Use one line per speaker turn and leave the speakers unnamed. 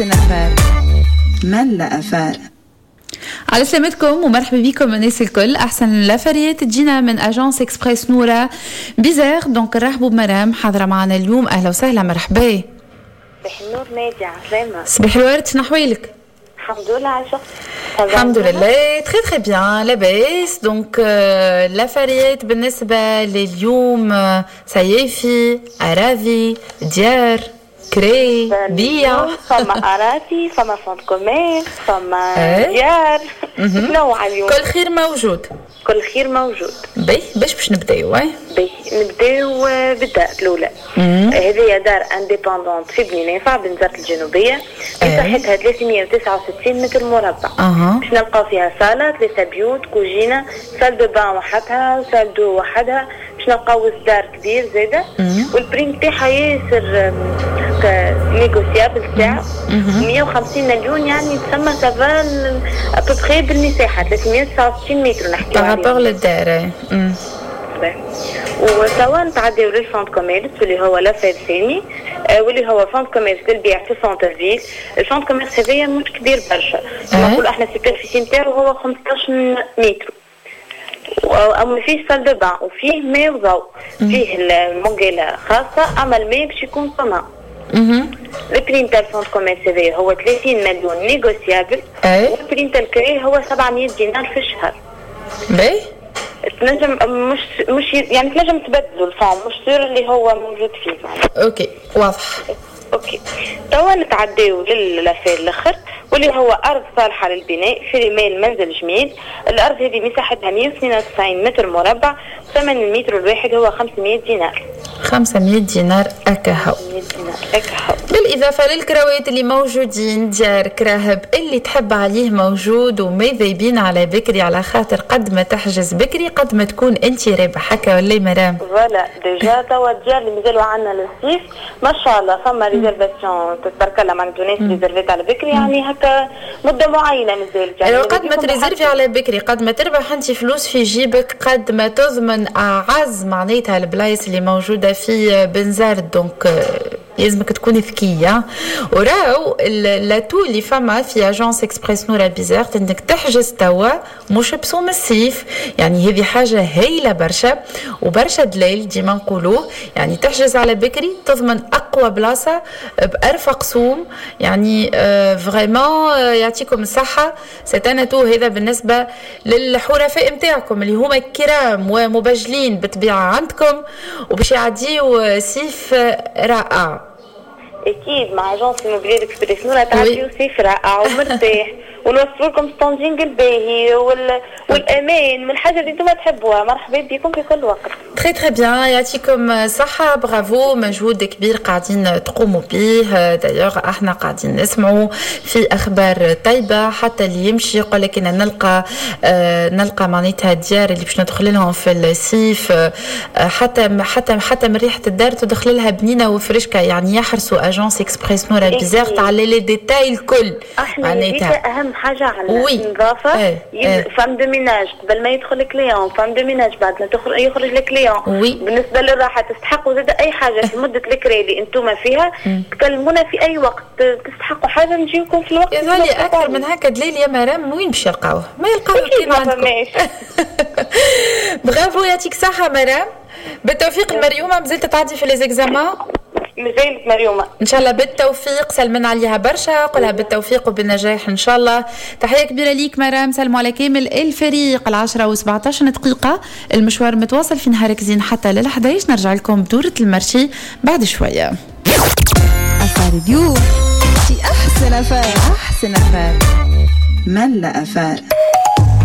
أحسن affaire، ملا affaire.
على سلامتكم ومرحبا بكم الناس الكل. احسن l'affaire تجينا من agence Express نورا بيزار. donc نرحبوا بمرام حاضره معنا اليوم. اهلا وسهلا، مرحبا.
صباح النور نادي، عسلامة.
صباح الورد، شنو احوالك؟
الحمد لله عايشة.
الحمد لله، très très bien، لاباس. donc l'affaire بالنسبة لليوم صيافي، أراضي، ديار، كري، بيع.
فما أراضي، فما fonds de commerce، فما ديار، نوع اليوم.
كل خير موجود.
كل خير موجود.
باهي، باش نبداو؟
باهي، نبداو بالدار الاولى. هذه دار indépendante في بني نافع، بنزرت الجنوبيه، مساحتها 369 متر مربع. باش نلقاو فيها صاله، ثلاثة بيوت، كوجينه، salle de bain وحدها، salle d'eau وحدها. باش نلقاو دار كبير زاده، وال prix نتاعها ياسر négociable، تاع 150 مليون، يعني تسمى ça va à peu près بالمساحه 369 متر نحكي
par rapport للدار.
وتوا نتعداو لل fonds de commerce، واللي هو l'affaire الثاني، واللي هو fonds de commerce للبيع في centre-ville. ال fonds de commerce هذايا مش كبير برشا، نقولوا احنا ال superficie نتاعو هو 15 متر، اما فيه salle de bain وفيه ماء وضوء، فيه المونجيلا خاصة، اما الماء باش يكون commun. ال prix نتاع ال fonds de commerce هذايا هو 30 مليون négociable، وال prix نتاع الكري هو 700 دينار في الشهر.
باهي.
تنجم مش يعني تنجم تبدلوا ال fonds، مش sûr اللي هو موجود فيه معناها.
OK، واضح.
OK، توا نتعداو لل affaire الاخر، واللي هو ارض صالحه للبناء في رمال منزل جميل. الارض هذه مساحتها 192 متر مربع، ثمن المتر الواحد هو 500 دينار.
500 دينار أكاهو.
500 دينار أكاهو.
بالإضافة للكراوات اللي موجودين، ديار، كراهب، اللي تحب عليه موجود، وماذا بينا على بكري، على خاطر قد ما تحجز بكري قد ما تكون انت رابح، هكا ولا مرام؟
voilà، déjà توا الديار اللي مازالوا عندنا للصيف ما شاء الله فما réservation، تبارك الله، معناتها ناس réservات على بكري، يعني هكا مده معينة مازالت
يعني. قد ما ت réserver على بكري قد ما تربح انت فلوس في جيبك، قد ما تضمن اعز معناتها البلايص اللي موجودة في بنزرت. donc لازمك تكون ذكية. وراو l'atout اللي فما في agence Express نورا بيزارت انك تحجز توا مش بسوم الصيف، يعني هذه حاجة هايلة برشا وبرشا دليل ديما نقولوه، يعني تحجز على بكري تضمن اقوى بلاصة بارفق سوم، يعني vraiment يعطيكم الصحه. c'est un atout هذا بالنسبة للحرفاء نتاعكم اللي هما كرام ومبجلين بالطبيعة عندكم، وباش يعديو صيف رائع.
اكيد مع agence immobilière Express نورا تعديو صيف رائع ومرتاح، ونوفر لكم standing الباهي والامان من الحاجة اللي انتم تحبوها. مرحبا بكم في كل وقت.
très très bien، يعطيكم صحة، برافو، مجهود كبير قاعدين تقوموا به. d'ailleurs احنا قاعدين نسمعوا في اخبار طيبة، حتى اللي يمشي يقول لك ان نلقى معناتها الديار اللي باش ندخل لهم في الصيف، حتى من ريحة الدار تدخل لها بنينة وفرشكة، يعني يحرصوا agence Express نورا بيزارت على les détails الكل.
معناتها اهم حاجة عندنا النظافه. femme de ménage قبل ما يدخل ال client، femme de ménage بعد ما يخرج ال client. بالنسبة للراحة تستحقوا زاد اي حاجة في مده الكري اللي انتم فيها، تكلمونا في اي وقت، تستحقوا حاجة نجيوكم في الوقت.
يظهر لي اكثر من هكا دليل يا مرام وين باش يلقاوه؟ ما يلقاوه كان عندكم. برافو، يعطيك صحة مرام، بالتوفيق. المريومه مازلت تعدي في les examens؟
مازالت مريومه.
ان شاء الله بالتوفيق، سلمنا عليها برشا، قولها بالتوفيق وبالنجاح ان شاء الله. تحية كبيرة ليك مرام، سلموا على كامل الفريق. 10:17، المشوار متواصل في نهارك زين حتى لل11. نرجع لكم بدورة ال marché بعد شوية.
affaire اليوم في أحسن affaire، أحسن affaire، ملا affaire.